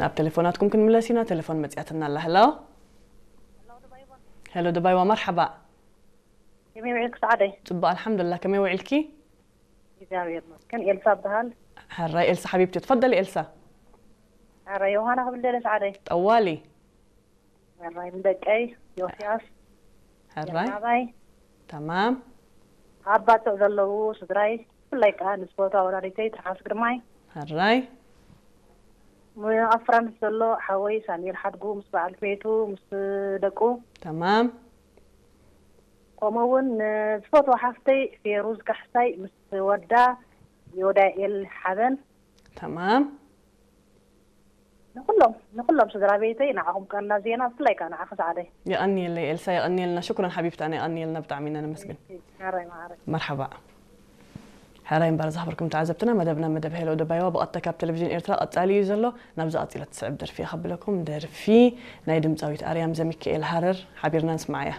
ናብ ቴሌፎናትኩም ክንምለስ ኢና። ቴሌፎን መጽያትና ኣላ። ሄሎ፣ ሄሎ ደባይዋ፣ መርሓባ። ከመይ ውዒልክ ሰዓደይ? ጽቡቕ ኣልሓምዱላ። ከመይ ውዒልኪ? እግዚኣብሔር ይመስገን። ኤልሳ እበሃል። ሕራይ ኤልሳ ሓቢብቲ፣ ትፈደሊ ኤልሳ። ሕራይ ዮሃና ክብል ደለ ሰዓደይ። ጠዋሊ። ሕራይ ንደቀይ ዮስያስ፣ ሕራይ ናባይ ተማም። ኣብ ባጽዕ ዘለዉ ስድራይ፣ ብፍላይ ከዓ ንስፖርታዊ ወላዲተይ ትርሓስ ግርማይ፣ ሕራይ ኣብ ፍራንስ ዘሎ ሓወይ ሳሙኤል ሓድጉ ምስ በዓልቲ ቤቱ ምስ ደቁ፣ ተማም። ከምኡ እውን ንዝፈትዋ ሓፍተይ ፌሩዝ ካሕሳይ ምስ ወዳ ዮዳኤል ሓበን፣ ተማም። ንኩሎም ንኩሎም ስድራ ቤተይ ንዓኹም ቀና ዜና፣ ብፍላይ ከዓ ንዓኺ ሰዓደይ። የቐንየለይ ኤልሳ፣ የቐንየልና። ሽኩረን ሓቢብታና፣ የቐንየልና። ብጣዕሚ ኢና ነመስግን። ሕራይ ማዕረ። መርሓባ። ሕራይ እምበር ዝኸበርኩም ተዓዘብትና፣ መደብና መደብ ሄሎ ደባይዋ ብቐጥታ ካብ ቴሌቪዥን ኤርትራ ቀጻሊ እዩ ዘሎ። ናብዚ ቀጺላ ትስዕብ ደርፊ እየ ከብለኩም። ደርፊ ናይ ድምጻዊት ኣርያም ዘሚካኤል ሃረር ሓቢርና ንስምዓያ።